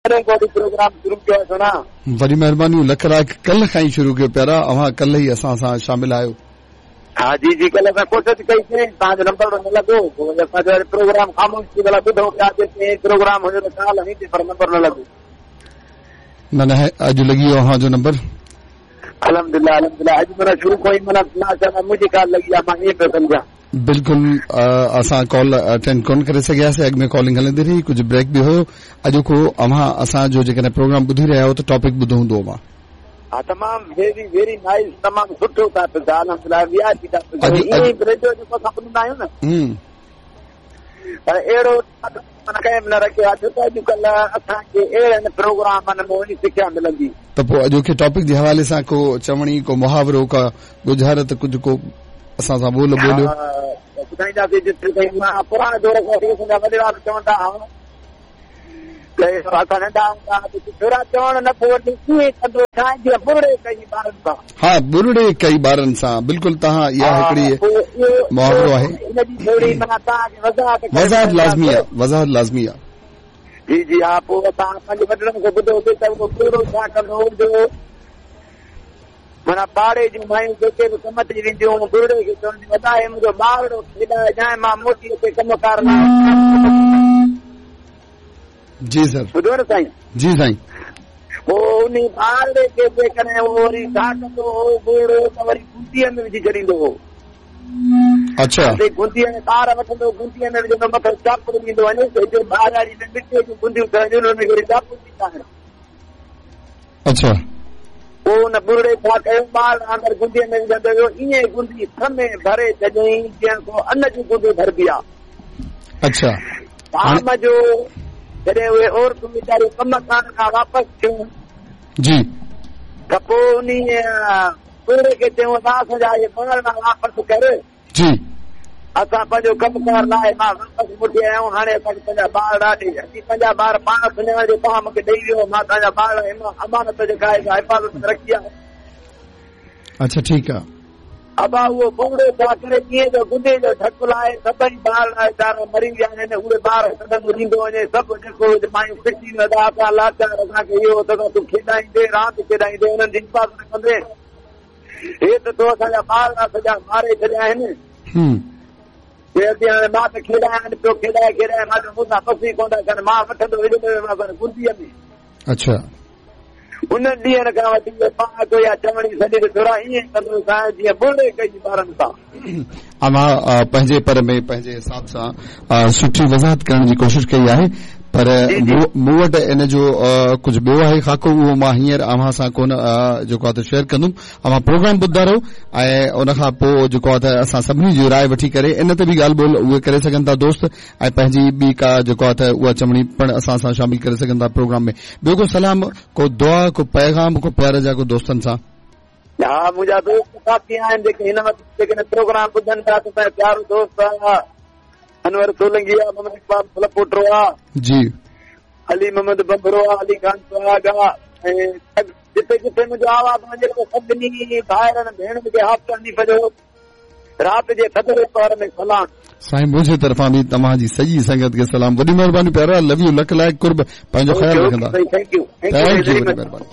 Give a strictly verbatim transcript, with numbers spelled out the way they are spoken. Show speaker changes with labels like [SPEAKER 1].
[SPEAKER 1] Programme शुरू कयो आहे।
[SPEAKER 2] वॾी महिरबानी, लख लाइक़। कल्ह खां ई शुरू कयो प्यारा, अव्हां कल्ह ई असां सां शामिल आहियो।
[SPEAKER 1] हा जी जी, कल्ह असां कोशिश कईसीं, तव्हांजो नंबर न लॻो, पोइ असांजो प्रोग्राम ख़ामोश थी भला ॿुधो पिया, प्रोग्राम हुजो त कॉल हणी पर नंबर न लॻो।
[SPEAKER 2] न न, अॼु लॻी वियो अव्हांजो नंबर।
[SPEAKER 1] अल्हम्दुलिल्लाह अल्हम्दुलिल्लाह, अॼु माना शुरू खां ई माना मुंहिंजी कॉल लॻी आहे, मां ईअं पियो सम्झां।
[SPEAKER 2] बिल्कुलु असां कॉल अटेंड कोन करे सघियासीं, अॻु में कॉलिंग हलंदी रही, कुझु ब्रेक बि हुयो। अॼोको अव्हां असांजो जेकॾहिं प्रोग्राम ॿुधी रहिया आहियो त टॉपिक ॿुधो हूंदो अव्हां।
[SPEAKER 1] हा, तमामु वेरी वेरी नाइस, तमामु सुठो टॉपिक आहे, अल्हम्दुलिल्लाह। वीआईपी टॉपिक ईअं ई रेडियो जेको असां ॿुधंदा आहियूं न, पर अहिड़ो माना कंहिं बि न रखियो आहे, छो त अॼुकल्ह असांखे अहिड़नि प्रोग्रामनि में वञी सिख्या मिलंदी।
[SPEAKER 2] त पोइ अॼोके टॉपिक जे हवाले सां को चवणी, को मुहावरो, का ॻुझारत, कुझु को असां सां ॿोल ॿोलियो।
[SPEAKER 1] ॿुधाईंदासीं। जिते ताईं मां पुराणे दौर खां वठी असांजा वॾेरा बि चवंदा हुआ त असां नंढा हूंदा छोरा चवण नथो वठी कीअं कंदो साईं, जीअं बुरड़े कई ॿारनि सां।
[SPEAKER 2] हा, बुरड़े कई ॿारनि सां, बिल्कुलु। तव्हां इहा हिकिड़ी मुहावरो आहे,
[SPEAKER 1] इन जी थोरी माना तव्हांखे वज़ाहत
[SPEAKER 2] वज़ाहत लाज़मी आहे, वज़ाहत लाज़मी आहे।
[SPEAKER 1] जी जी हा, पोइ असां पंहिंजे वॾड़नि खे ॿुधोसीं त उहो बुरड़ो छा कंदो हो, जो माना पाड़े जूं मायूं जेके बि कम ते वेंदियूं बुरड़े खे चवंदियूं, अदा हे मुंहिंजो ॿारड़ो खेॾाइजांइ, मां मोटी अचे कम कार लाइ।
[SPEAKER 2] जी सर,
[SPEAKER 1] ॿुधो न साईं।
[SPEAKER 2] जी साईं।
[SPEAKER 1] पोइ उन ॿारड़े खे जेकॾहिं उहो वरी छा कंदो हो बुरड़ो, त वरी गुंदीअ में विझी छॾींदो हो।
[SPEAKER 2] अच्छा।
[SPEAKER 1] गुंदीअ में ॿार वठंदो, गुंदीअ में विझंदो, मथे चापड़ ॾींदो वञे, हिते ॿारवारी में मिटीअ जूं गुंदियूं ठहंदियूं, हुन खे वरी चापड़ ॾींदा आहिनि।
[SPEAKER 2] अच्छा।
[SPEAKER 1] पोइ हुन बुरड़े छा कयो, ॿार अंदरि गुंदीअ में विझंदो वियो, ईअं गुंदी थमे भरे छॾियईं जीअं को अन जी गुंदी भरिबी आहे।
[SPEAKER 2] अच्छा।
[SPEAKER 1] शाम जो जॾहिं उहे औरतूं वीचारियूं कम कार खां वापसि थियूं,
[SPEAKER 2] जी,
[SPEAKER 1] त पोइ उन बुरड़े खे चयूं, असां असांजा इहे ॿार वापसि कर,
[SPEAKER 2] जी,
[SPEAKER 1] असां पंहिंजो कम कार लाइ मां वापसि मोटी आया आहियूं, हाणे असांखे पंहिंजा ॿार ॾे, असीं पंहिंजा ॿार पाण सुञाण जो तव्हां मूंखे ॾेई वियो, मां तव्हांजा ॿार अमानत जेका आहे हिफाज़त में रखी आहे।
[SPEAKER 2] अच्छा, ठीकु आहे।
[SPEAKER 1] अबा उहो बुरड़ो छा करे, जीअं जो गुंदे जो ढक लाए सभई ॿार वीचारा मरी विया आहिनि, उहे ॿार कढंदो ॾींदो वञे, सभु जेको मायूं पिटी असां लाचार, असांखे इहो त तूं खेॾाईंदे, रांदि खेॾाईंदे, उन्हनि जी हिफाज़त कंदे, हे त तो असांजा ॿार सॼा मारे छॾिया आहिनि। हाणे मां त खेॾायां पियो, खेॾाए खेॾाए मां चयो मूंसां बसि कोन था कनि, मां वठंदो विझंदो गुंदीअ में।
[SPEAKER 2] अच्छा।
[SPEAKER 1] उन्हनि ॾींहनि खां वठी पाण या चवणी सॼी थोरा ईअं कंदो साईं जीअं बुरड़े कई ॿारनि सां।
[SPEAKER 2] अव्हां पंहिंजे पर में पंहिंजे हिसाब सां सुठी वज़ाहत करण जी कोशिश कई आहे, पर मूं वटि इन जो कुझु ॿियो आहे ख़ाको, उहो मां हींअर अव्हां सां कोन जेको आहे त शेयर कंदुमि। अव्हां प्रोग्राम ॿुधंदा रहो ऐं उन खां पोइ जेको आहे त असां सभिनी जी राय वठी करे इन ते बि ॻाल्हि ॿोल उहे करे सघनि था दोस्त, ऐं पंहिंजी ॿी का जेको आहे त उहा चवणी पिणु असां सां शामिल करे सघनि था प्रोग्राम में। ॿियो को सलाम, को दुआ, को पैगाम, को प्यार जा को दोस्तनि सां?
[SPEAKER 1] हा, मुंहिंजा दोस्त साथी आहिनि जेके हिन वक़्तु जेके प्रोग्राम ॿुधनि था, त प्यारो दोस्त आहे अनवर सोलंगी आहे, मोहम्मद इक़बाल फलपोटरो आहे,
[SPEAKER 2] जी,
[SPEAKER 1] अली मोहम्मद बंबरो आहे, अली खान सुहाग आहे, ऐं जिते जिते मुंहिंजो आवाज़ वञे थो सभिनी भाइरनि भेणुनि खे हाफ़ हनीफ़ जो राति जे थधड़े पहर में सलाम।
[SPEAKER 2] साईं, मुंहिंजे तरफ़ां बि तव्हांजी सॼी संगत खे सलाम। वॾी महिरबानी प्यारा, लव you, luck लाइक़, कुर्ब, पंहिंजो ख़्यालु रखंदा।
[SPEAKER 1] Thank you,
[SPEAKER 2] thank you, वॾी महिरबानी।